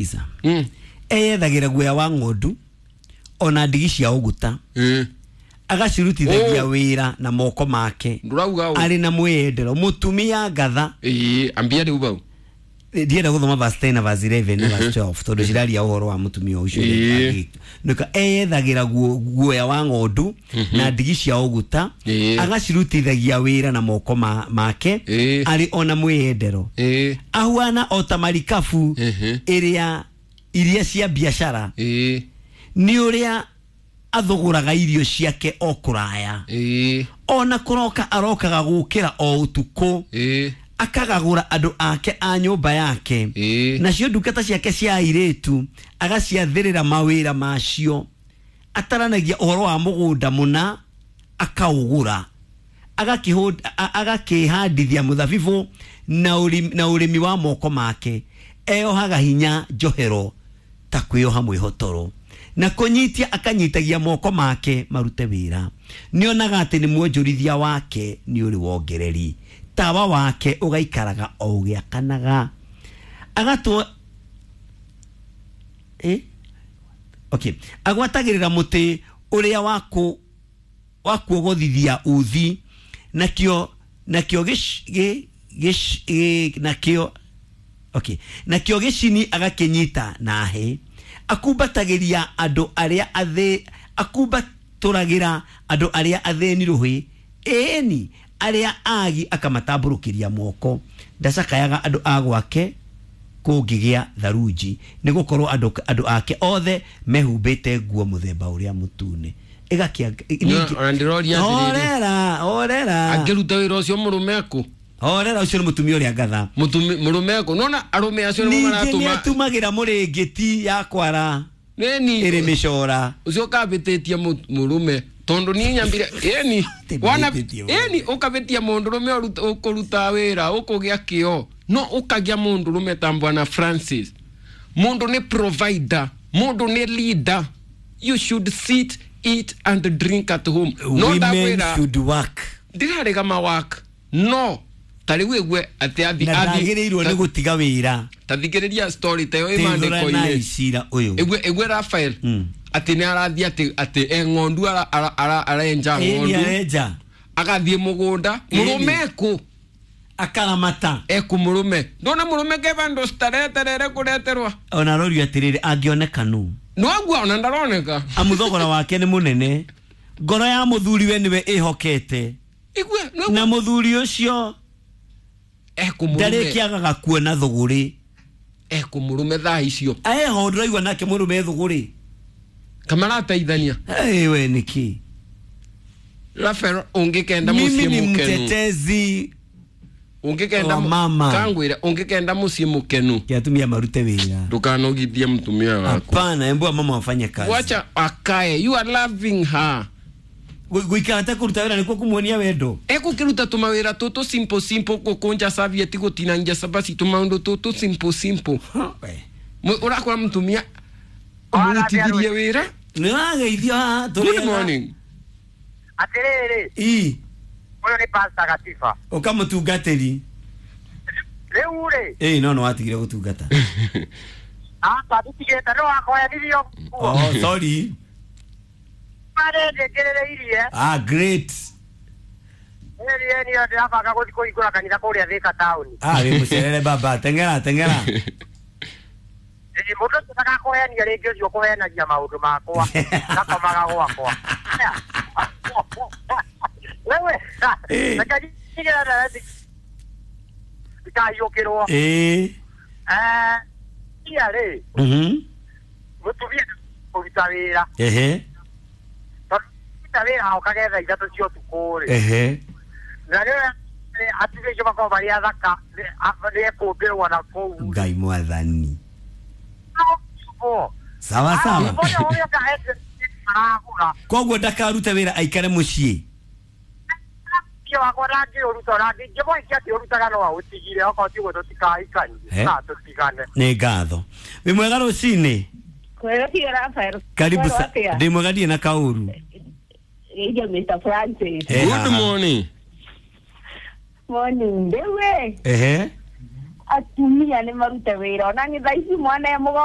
Sikiza. Eyethagira guoya wa ng'ondu ona ndigi cia ũguta, agacirutithagia wĩra na moko make. Ndurauga ũ? Arĩ na mwĩyendero, mũtumia ngatha. Ĩĩ, ambia rĩu bau. Ndienda gũthoma verse 10 na verse 11 na verse 12 tondũ ciraria ũhoro wa mũtumia ũcio. Nĩka eyethagĩra guoya wa ng'ondu na ndigi cia ũguta, agacirutithagia wĩra na moko make arĩ ona mwĩyendero, ahuana o ta marikabu ĩrĩa iria cia biacara, nĩ ũrĩa athũgũraga irio ciake o kũraya, ona kũroka arokaga gũkĩra o ũtukũ, akagagũra andũ ake a nyũmba yake, nacio ndungata ciake cia airĩtu agaciathĩrĩra mawĩra macio. Ataranagia ũhoro wa mũgũnda mũna akaũgũra, agakĩhandithia mũthabibũ na ũrĩmi wa moko make. Eyohaga hinya njohero ta kwĩyoha mwĩhotoro, na kũnyitia akanyitagia moko make marute wĩra. Nĩonaga atĩ nĩ mwonjorithia wake nĩ ũrĩ wongereri, tawa wake ũgaikaraga o ũgĩakanaga. Agatwo okay, agwatagĩrĩra mũtĩ ũrĩa wa kuogothithia uthi, nakĩo nakĩo gĩc- gĩ- gĩc- gĩ- nakĩo okay, nakĩo gĩcini agakĩnyita na hĩ. Akumbatagĩria andũ arĩa athĩ, akumbatũragĩra andũ arĩa athĩni rũhĩ, ĩni arĩa agi akamatambũrũkĩria moko. Ndacakayaga andũ a gwake kũngĩgĩa tharunji, nĩ gũkorwo andũ ake othe mehumbĩte nguo mũthemba ũrĩa mũtune. Ona ndĩroria atĩrĩrĩ. Horera, horera. Angĩruta wĩra ũcio, mũrũme akũ? Horera, ũcio nĩ mũtumia ũrĩa ngatha. Mũrũme akũ? Nona arũme acio nĩmo Ningĩ nĩ maratũma. atumagĩra mũrĩngĩti ya kwara Nĩni. ĩrĩ mĩcora. Ũcio ũkabĩtĩtie mũrũme, tondũ niĩ nyambire ĩni Atĩ wana mbĩtĩtie mũrũme. Ĩni ũkabĩtia mũndũrũme ũkũruta wĩra ũkũgĩa kĩo, no ũkagĩa mũndũrũme ta Bwana Francis. Mũndũ nĩ provider, mũndũ nĩ leader. You should sit, eat and drink at home. No Women ndakwĩra should work. Ndirarega mawak, no ta rĩu ĩgue atĩ athi Na ndagĩrĩirwo nĩ gũtiga wĩra. Ta thikĩrĩria story ta ĩyo ĩ Teithũranai maandĩko-inĩ. cira ũyũ. Ĩgue Rafael atĩ nĩ arathiĩ atĩ e ng'ondu arenja Ĩni ng'ondu, arenja. agathiĩ mũgũnda. Mũrũme ekũ? Akaramata. Ekũ mũrũme? Ndona mũrũme ke vandũ stareterere kũreterwa. Ona arorio atĩrĩrĩ, angĩoneka nũ? Nĩwaguo ona ndaroneka. Amu thogora wake nĩ mũnene, ngoro ya mũthuri we nĩwe ĩhokete. Igue. Na mũthuri ũcio Ekũ mũrũme? ndarĩkĩagaga kuona thũgũrĩ. Ekũ mũrũme thaa icio? Eho ndĩraigua nake mũrũme thũgũrĩ. Kamarateithania. We nĩkĩ? Rafael, ũngĩkenda Mimi mũciĩ ni mũkenu, mtetezi ũngĩkenda wa mama. Kangwĩre, ũngĩkenda mũciĩ mũkenu, Kĩ atumia marute wĩra. Ndũkanogithie mũtumia waku. Hapana, embu mama wafanye kazi. Wacha akae, you are loving her. Gũikara ta kũruta wĩra nĩkuo kũmuonia wendo? Ekũkĩruta tũmawĩra tũtũ simple simple, gũkũnja serviette, gũtinangia cabaci, tũmaũndũ tũtũ simple simple. We. Ũrakora mũtumia ũmũrutithirie wĩra. Nĩ wageithio haha tũrĩ Good ega. morning. Atĩrĩrĩ, Ii. ũyũ nĩ Pastor Gatiba. Ũkamũtungatĩri. Rĩu rĩ, Ĩĩ, no nĩ watigire gũtungata. Aka nditigĩte no wakoyanirio. Oh, sorry. Marĩ ndĩkĩrĩrĩirie. Ah, great. Ĩĩ, niĩ ndĩrabanga gũthiĩ kũhingũra kanitha kũrĩa Thika taũni. Ah, wĩ mũcerere baba, teng'era teng'era. Ĩĩ, mũndũ ũcio ndagakũhenia rĩngĩ, ũcio ũkũhenagia maũndũ makwa. Ngakomaga gwakwa. Wewe, reke njigĩre ndereti ndikahiũkĩrwo. Ia rĩ, mũtumia kũruta wĩra. Tondũ kũruta wĩra okage thaa 3 cia ũtukũ rĩ. Na rĩrĩa atumia acio makoragwo marĩ athaka, nĩ ekũmbĩrwo na kũu. Ngai mwathani. Sawa sawa. Aragũra. Koguo ndakarute wĩra, aikare mũciĩ. Wakwa ndangĩũruta, ona ndingĩmũhikia akĩũrutaga, no aũtigire, okorwo tiguo tũtikahikanie na tũtigane. Nĩ ngatho. Wĩ mwega rũcinĩ. Kwega biũ, Rafael. Karibu Kwero sa. atĩa? Ndĩ mwega, ndirĩ na kaũru. Geithia Mr. Francis. Good Haha. morning. Morning. Rĩu ĩ, Ehe. atumia nĩ marute wĩra ona nĩ thaa ici mwana e mũgongo.